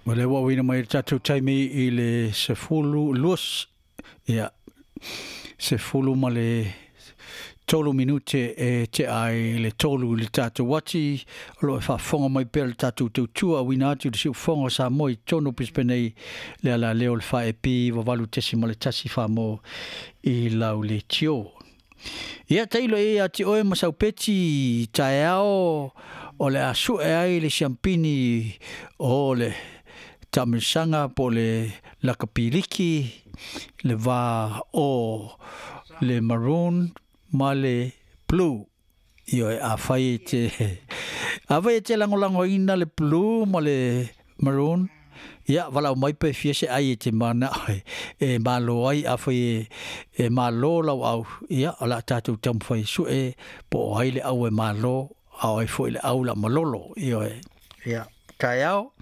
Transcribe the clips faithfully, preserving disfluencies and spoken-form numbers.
O lea ua auina mai le tatou taimi i le sefulu lua, ia, sefulu ma le tolu minute e tea ai le tolu i le tatou ati. O lo o faafofoga mai pea le tatou tautua auina atu i le siufofoga o Samoa i totonu o Brisbane nei le alaleo o le fa E P valu tesima le tasi Samoa i lau leitio. Ia tailo e ia te oe ma saupeti taeao o le a sue ai le siampini o le taamilosaga po o le lakapiliki le va o le maroon ma le blue. Ioe, afai e te afai e te lagolagoina le blue ma le maroon, ia valaau mai pe fia se ai e te mana e malo ai. Afai e, e malo lau au, ia o le a tatou taumafai sue po o ai le au e malo a o ai foi le au la malolo. Ioe, ia taeao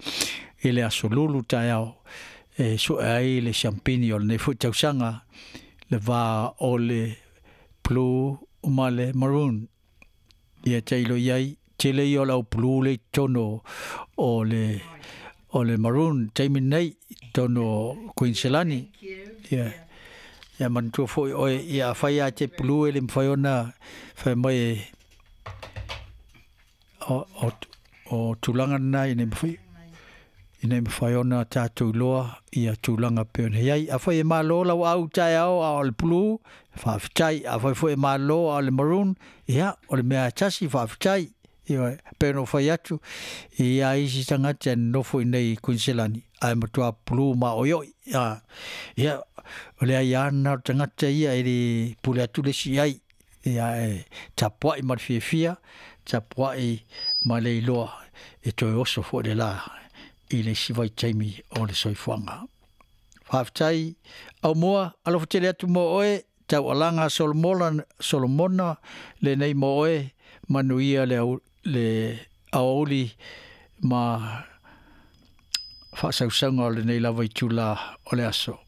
i le aso Lulu taeao e sue ai le siampini o lenei foi tausaga le va o le blue ma le maroon. Ia tailo i ai tele ia o le au blue le i totonu o le o le maroon taimi nei totonu o Queensland. Ia ia manatua foi oe, ia afai ia te blue e le mafai ona fai mai e o, o, o tulaga lena ina mafai ina mafai ona tatou iloa ia tulaga pei ona i ai. Afai e malo lau au taeao a o le blue, faafetai. Afai foi e malo a o le maroon, ia o le mea e tasi, faafetai. Ia pei ona ou fai atu ia isi tagata e nonofo i nei i Queensland ae matua blue maoioi. Ia, ia o le aiā lena o le tagata ia e le pule atu le isi i ai. Ia e tapuai ma le fiafia, tapuai ma le iloa e toe oso foi le la i le isi vaitaimi o le soifuaga. Faafetai Aumua, alofa tele atu mo oe, taualaga Solomona, Solomona lenei mo oe, manuia le, au, le aoauli ma faasausauga o lenei lava itula o le aso.